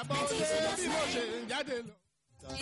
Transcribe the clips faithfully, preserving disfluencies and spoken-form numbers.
gbàbọ̀dé bí mo ṣe ń jáde lọ.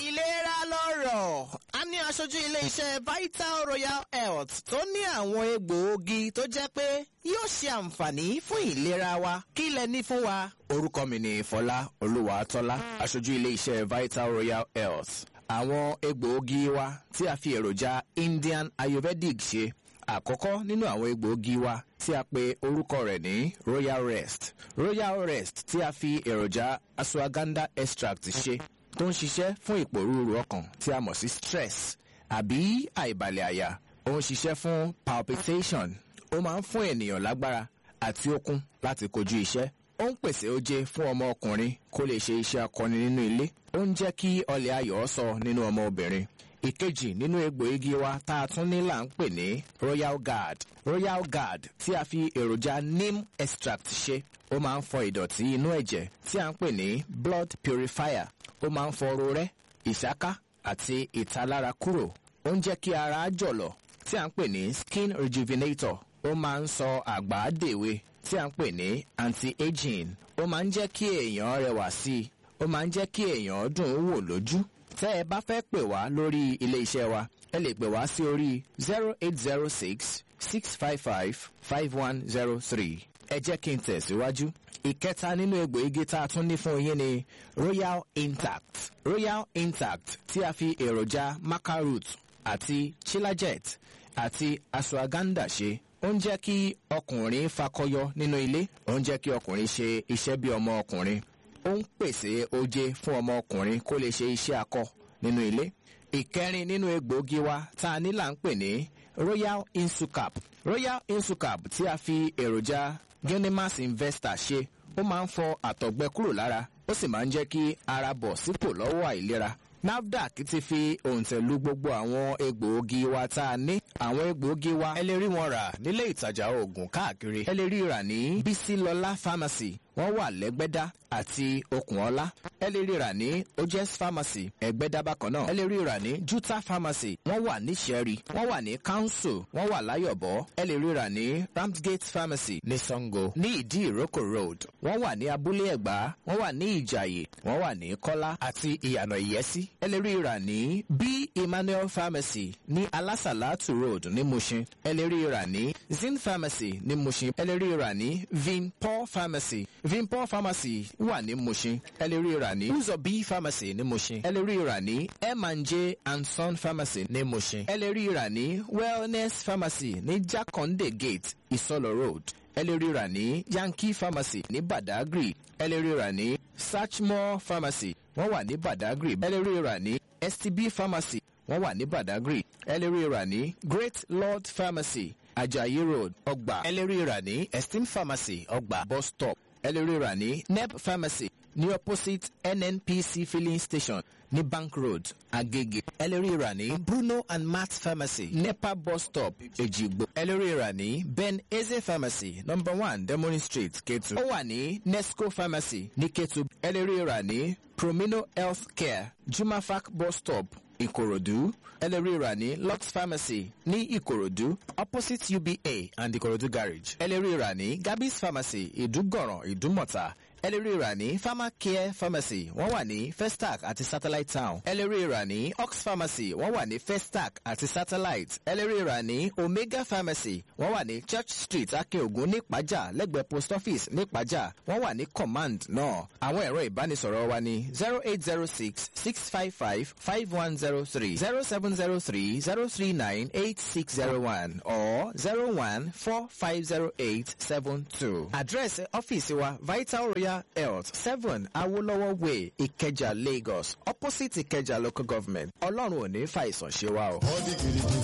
Ìlera lọ́rọ̀. A ní aṣojú ilé-iṣẹ́ Vital Royal Health tó ní àwọn egbòogi tó jẹ́ pé yóò ṣe àǹfààní fún ìlera wa. Kí lẹ ní fún wa? Orúkọ mi ni Fọlá Olúwatọ́lá, aṣojú ilé-iṣẹ́ Vital Royal Health. Àwọn egbòogi wa tí a fi èròjà Indian Ayurvedic ṣe. Àkọ́kọ́ nínú àwọn egbòogi wa tí a pe orúkọ rẹ̀ ní Royal Rest. Royal Rest tí a fi èròjà ashwagandha extract ṣe, tó ń ṣiṣẹ́ fún ìpòrúurú ọkàn tí a mọ̀ sí stress àbí àìbalẹ̀ àyà. Ó ń ṣiṣẹ́ fún palpitation. Ó máa ń fún ènìyàn lágbára àti okun láti kojú iṣẹ́. Ó ń pèsè oje fún ọmọ ọkùnrin kó lè ṣe iṣẹ́ akọni nínú ilé. Ó ń jẹ́ kí ọlẹ̀ ayọ̀ sọ nínú ọmọ obìnrin. Ìkejì nínú egbòogi wa tá a tún ní là ń pè ní Royal Guard. Royal Guard tí a fi èròjà neem extract ṣe, ó máa ń fọ ìdọ̀tí inú ẹ̀jẹ̀ tí a ń pè ní blood purifier. Ó máa ń fọ rorẹ́, ìsáká àti ìtalára kúrò. Ó ń jẹ́ kí ara jọ̀lọ̀ tí a ń pè ní skin rejuvenator. Ó máa ń sọ àgbà dèwe tí a ń pè ní anti-aging. Ó máa ń jẹ́ kí èèyàn rẹwà sí i. Ó máa ń jẹ́ kí èèyàn dùn ún wò lójú. Tẹ́ ẹ bá fẹ́ pè wá lórí ilé iṣẹ́ wa, ẹ lè pè wá sí orí zero eight zero six six five five five one zero three. Ẹ jẹ́ kí n tẹ̀síwájú. Ìkẹta nínú egbòogi tá a tún ní fún yín ni Royal Intact. Royal Intact tí a fi èròjà maca root àti chilajet àti ashwagandha ṣe. Ó ń jẹ́ kí ọkùnrin fakọyọ nínú ilé. Ó ń jẹ́ kí ọkùnrin ṣe iṣẹ́ bí ọmọ ọkùnrin. Ó ń pèsè oje fún ọmọ ọkùnrin kó lè ṣe iṣẹ́ akọ nínú ilé. Ìkẹrin nínú egbòogi wa tá a ní là ń pè ní Royal Insucap. Royal Insucap tí a fi èròjà Genimas Investor ṣe, ó máa ń fọ àtọ̀gbẹ kúrò lára, ó sì máa ń jẹ́ kí ara bọ̀ sípò lọ́wọ́ àìlera. NAFDAC ti fi òǹtẹ̀ lu gbogbo àwọn egbòogi wa tá a ní. Àwọn egbòogi wa, ẹ lè rí wọn rà nílé ìtajà oògùn káàkiri. Ẹ lè rí rà ní Bísílọlá Pharmacy, wọ́n wà lẹ́gbẹ́dá àti Okùnọlá. Ẹ lè rí rà ní Ojes Pharmacy, Ẹ̀gbẹ́dá bákan náà. Ẹ lè rí rà ní Juta Pharmacy, wọ́n wà ní Ṣẹ́rí, wọ́n wà ní Council, wọ́n wà Láyọ̀bọ̀. Ẹ lè rí rà ní Ramsgate Pharmacy ní Sango, ní Ìdí Ìrókò Road. Wọ́n wà ní Abúlé Ẹ̀gbá, wọ́n wà ní Ìjàyè, wọ́n wà ní Kọ́lá àti Ìyànà Ìyẹ́sí. Ẹ lè rí rà ní B Emmanuel Pharmacy ní Alásàlátù Road ní Mushin. Ẹ lè rí rà ní Zin Pharmacy ní Mushin. Ẹ lè rí rà ní Vinpol Pharmacy. Vinpol Pharmacy wà ní Mushin. Ẹ lè rí rà ní Uzobi Pharmacy ní Mushin. Ẹ lè rí rà ní M and J and Son Pharmacy ní Mushin. Ẹ lè rí rà ní Wellness Pharmacy ní Jakande Gate, Isolo Road. Ẹ lè rí rà ní Yankee Pharmacy ní Badagry. Ẹ lè rí rà ní Sachmore Pharmacy, wọ́n wà ní Badagry. Ẹ lè rí rà ní S T B Pharmacy, wọ́n wà ní Badagry. Ẹ lè rí rà ní Great Lord Pharmacy, Ajayi Road, Ọgbà. Ẹ lè rí rà ní Esteem Pharmacy, Ọgbà bus stop. Ẹ lè rí rà ní Neb Pharmacy ní opposite N N P C filling station ní Bank Road, Agege. Ẹ lè rí rà ní Bruno and Matt Pharmacy, NEPA bus stop, Èjìgbò. Ẹ lè rí rà ní Ben Eze Pharmacy, number one Demorin Street, Ketu. Ó wà ní Nesco Pharmacy ní Ketu. Ẹ lè rí rà ní Promino Health Care, Jumafac bus stop, Ìkòròdú. Ẹ lè rí rà ní Lux Pharmacy ní Ìkòròdú, opposite U B A and Ìkòròdú Garage. Ẹ lè rí rà ní Gabby's Pharmacy, Ìdúgọ̀ràn, Ìdúmọ̀tà. Ẹ lè rí rà ní Pharmacare Pharmacy, wọ́n wà ní Festac àti Satellite Town. Ẹ lè rí rà ní Ox Pharmacy, wọ́n wà ní Festac àti Satellite. Ẹ lè rí rà ní Omega Pharmacy, wọ́n wà ní Church Street, Akeogun, ní Ìpájà, lẹ́gbẹ̀ẹ́ post office ní Ìpájà. Wọ́n wà ní Command náà. Àwọn ẹ̀rọ ìbánisọ̀rọ̀ wa ní zero eight zero six six five five five one zero three, zero seven zero three zero three nine eight six zero one or zero one four five zero eight seven two. Àdírẹ́sì ọ́fíìsì wa, Vital Royal Health, seven Awolowo Way, Ìkẹjà, Lagos, opposite Ìkẹjà Local Government. Ọlọ́run ò ní fàìsàn ṣe wá o. Ó di gidigidi.